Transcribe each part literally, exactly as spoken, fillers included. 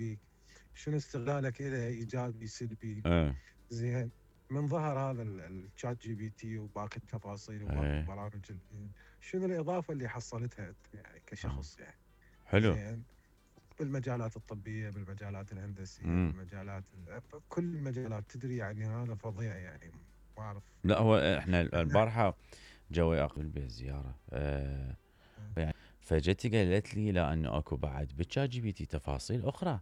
بيك، شنو استغلالك له ايجابي سلبي. ايه زين، من ظهر هذا الشات جي بي تي وباقي التفاصيل وباقي ايه البرامج ال- شنو الاضافه اللي حصلتها انت يعني كشخص يعني. حلو. زين، بالمجالات الطبيه، بالمجالات الهندسيه، امم بالمجالات كل المجالات، تدري يعني هذا فظيع يعني. ما اعرف. لا هو احنا احنا البارحه جوي اخذ البيت زياره أه يعني فجتي قالت لي لا انه اكو بعد بالشات جي بي تي تفاصيل اخرى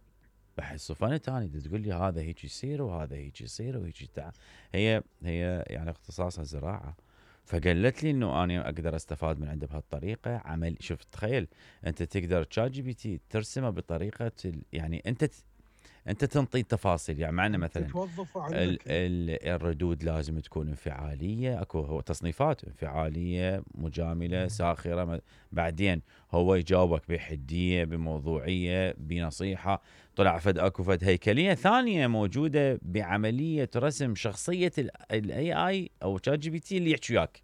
بحس فن ثاني، تقول لي هذا هيك يصير وهذا هيك يصير وهيك تع... هي هي يعني اختصاصها زراعه، فقالت لي انه انا اقدر استفاد من عنده بهالطريقه عمل. شوف تخيل انت تقدر تشات جي بي تي ترسمه بطريقه ال... يعني انت ت... انت تنطي تفاصيل، يعني معنا انت مثلا توظفه ال عندك. ال الردود لازم تكون انفعاليه، اكو هو تصنيفات انفعاليه، مجامله، ساخره، بعدين هو يجاوبك بحديه، بموضوعيه، بنصيحه. طلع فد اكو فد هيكليه ثانيه موجوده بعمليه رسم شخصيه الاي اي او شات جي بي تي اللي يحكي وياك.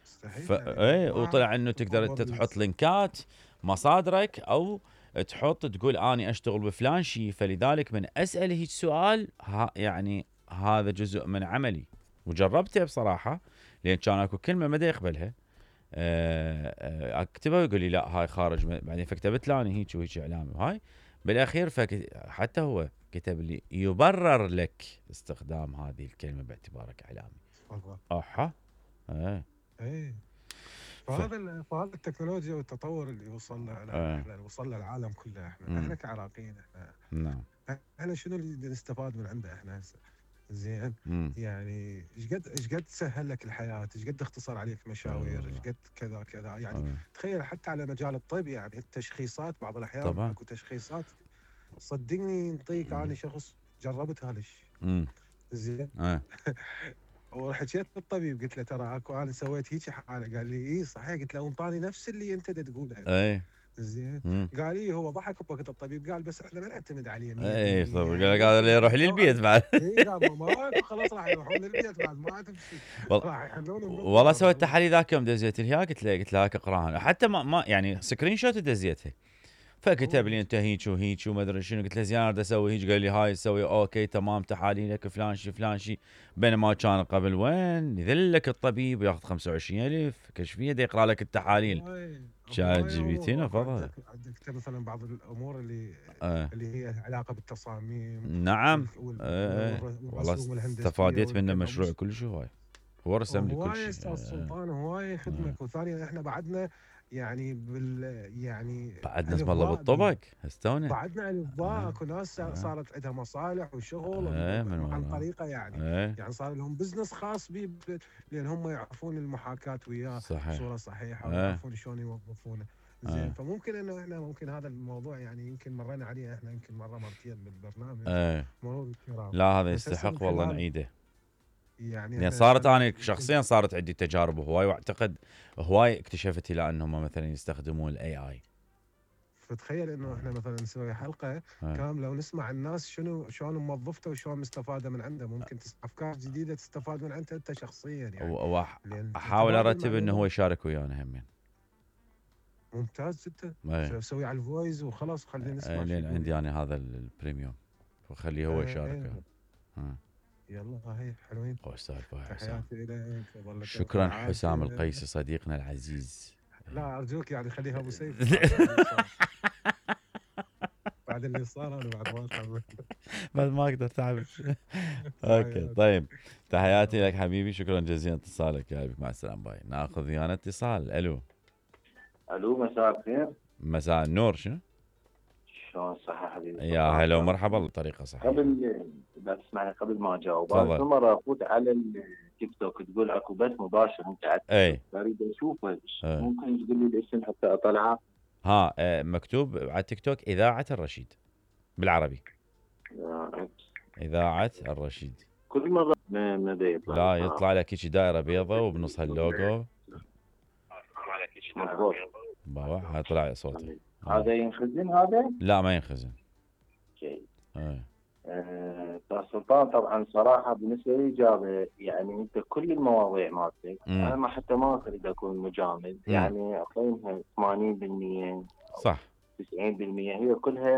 ف مستحيل يعني. ما ايه ما اعرف وطلع انه تقدر التطور انت اللي تحط صار. لينكات مصادرك او تحط تقول اني اشتغل بفلان شيء، فلذلك من اسال هيك سؤال ها يعني هذا جزء من عملي وجربته بصراحه، لان كان اكو كلمه ما يقبلها آه، آه، اكتبها ويقول لي لا هاي خارج، بعدين فكتبت له انا هيك وهيك اعلامي وهاي بالاخير فك حتى هو كتب لي يبرر لك استخدام هذه الكلمه باعتبارك اعلامي. والله. اها ايه ايه. ف فهذا ال- فهذا التكنولوجيا والتطور اللي وصلنا له ايه احنا، وصلنا العالم كله احنا امم احنا كعراقيين احنا. نعم احنا شنو اللي نستفاد من عنده احنا هسه؟ زين. امم يعني ايش قد ايش قد سهل لك الحياه، ايش قد اختصر عليك اي مشاوير، ايش والله قد كذا كذا يعني. اي تخيل حتى على مجال الطب، يعني التشخيصات بعض الاحيان طبعا اكو تشخيصات صدقني ينطيك. امم انا شخص جربت هذا الشيء. امم زين. اي وحكيت للطبيب قلت له ترى اكو انا سويت هيك حاله، قال لي اي صحيح، قلت له انطاني نفس اللي انت تقوله. اي زين. امم قال لي هو ضحك بوقت الطبيب، قال بس احنا ما نعتمد عليه اي طب مية بالمية قال لك يعني هذا اللي ممكن يروح لي لو البيت انا. بعد اي قال ما ماكو خلاص راح يروحون للبيت بعد ما تمشي. والله راح يحلون والله بنظره سويت بعدين. تحاليل ذاك يوم دزيت لها، قلت له قلت له هاك اقراها حتى ما, ما يعني سكرين شوت دزيتها، فكتب هو لي انت هيك وهيك وما ادري شنو، قلت له زين انا اسوي هيك، قال لي هاي تسوي اوكي تمام تحاليلك فلان شي فلان شي. بينما كان قبل وين يذلك الطبيب وياخذ خمسة وعشرين ألف كشفيه دا يقرا لك التحاليل. هواي شات هواي جي بي تي امور اكو نفضها. عندك عندك مثلا بعض الامور اللي آه. اللي هي علاقه بالتصاميم نعم. وال- وال- آه. وال- والله والرسوم الهندسيه استفاديت منه مشروع والكذا. كل شيء هواي، هو رسم لي كل هواي يا شيء. استاذ آه. سلطان، هواي آه. خدمك. وثانيا احنا بعدنا يعني بال يعني بعد ناس مالله الافضاء بال بالطبق هستونه. بعدنا الافضاء. آه. اكو ناس آه. صارت عندها مصالح وشغل ب- آه. من ب- عن وراه. طريقه يعني. آه. يعني صار لهم بزنس خاص بي ب- لان هم يعرفون المحاكاه وياه صحيح. بصوره صحيحه، آه. ويعرفون شلون يوظفونه. زين. آه. فممكن انه احنا ممكن هذا الموضوع يعني يمكن مرينا عليه احنا يمكن مره مرتين بالبرنامج، آه. مرور الكرام. لا هذا بس هسه من يستحق والله خلال نعيده، يعني لان احنا صارت خلال انا يمكن شخصيا صارت عندي تجارب هواي، واعتقد هواي اكتشفت الى انهم مثلا يستخدمون الاي اي. فتخيل انه احنا مثلا نسوي حلقه آه. كامله ونسمع الناس شنو شلون موظفته وشلون مستفاده من عنده. ممكن تس- افكار جديده تستفاد من عنده انت شخصيا يعني. لان واحاول تبادل ارتب انه هو المعلومات يشارك ويانا همين. ممتاز جدا. اي سوي على الفويس وخلاص خلينا نسمع أي شو لان يقول عندي يعني. انا هذا البريميوم فخليه هو يشارك. ايه. آه. يلا هاي حلوين. خوش سالفه يا حسام. تحياتي لك، ظلك بألف شكرا حسام العافيه. القيسي صديقنا العزيز. لا ارجوك يعني خليها ابو سيف بعد بعد اللي صار. بعد اللي صار انا بعد ما اتحمل. بعد ما اقدر تعب. اوكي تحياتي. طيب، تحياتي لك حبيبي، شكرا جزيلا اتصالك يا حبيبي، مع السلامه باي. ناخذ ويانا اتصال. الو. الو مساء الخير. مساء النور. شنو؟ شلون صحة حبيبي؟ يا هلا ومرحبا بطريقه صحيحه. قبل اذا تسمعني قبل ما اجاوب، انا تفضل. كل مره افوت على التيك توك تقول اكو بث مباشر انت على اي التيك توك، اريد اشوفه. أي. ممكن تقول لي الاسم حتى اطلعه؟ ها آه، مكتوب على التيك توك اذاعه الرشيد بالعربي. آه، اذاعه الرشيد. كل مره ما ما بيطلع. لا يطلع لك هيك دائره بيضاء وبنصها اللوجو. مضبوط. بابا هاي طلع صوتي. هذا ينخزن هذا؟ لا ما ينخزن. شيء. اي آه، استاذ سلطان طبعا صراحه بالنسبه لي اجابه، يعني انت كل المواضيع مالتك مم. انا ما حتى ما اريد اكون مجامل، مم. يعني اقيمها ثمانين بالمئة صح. تسعين بالمئة هي كلها